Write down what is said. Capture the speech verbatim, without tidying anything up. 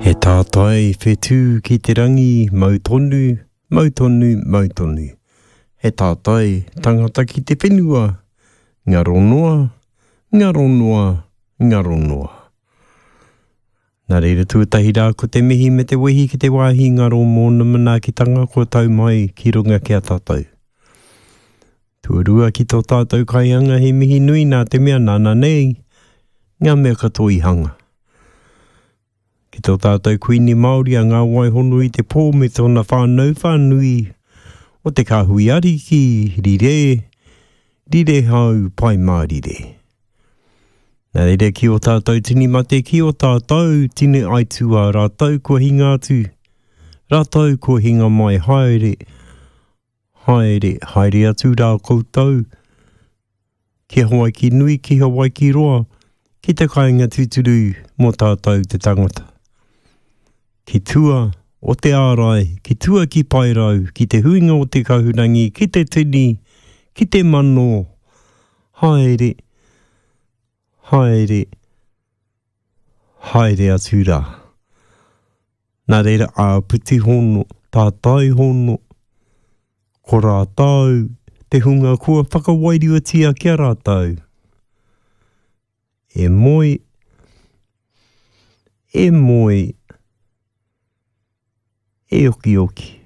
He tātai whetū ki te rangi, mau tonu, mau tonu, mau tonu. He tātai tangata ki te whenua, ngaro noa, ngaro noa, ngaro noa. Nā reira tuatahi rā ko te mihi me te wehi ki te wāhi ngaro mōna manaakitanga kua tau mai ki runga ki a tātou. Tuarua ki tō tātou kaihanga he mihi nui nā te mea nāna nei ngā mea katoa i hanga. Ki tō tātou Kuini Māori a Ngā Waihono i te pō me tōna whānau whānui o te kāhui ariki, rire, rire hau, pai mārire. Nā reira ki o tātou tini mate, ki o tātou tini aituā, rātou kua hinga atu, rātou kua hinga mai, haere, haere, haere atu rā koutou, ki Hawaiki nui, ki Hawaiki roa, ki te kāinga tūturu mō tātou te tangata. Ki tua o te ārai, ki tua ki Paerau, ki te huinga o te kahurangi, ki te tini, ki te mano, haere, haere, haere atu rā. Nā reira āpiti hono, tātai hono, ko rātou te hunga kua whakawairuatia ki a rātou. E moe, e moe, e okioki.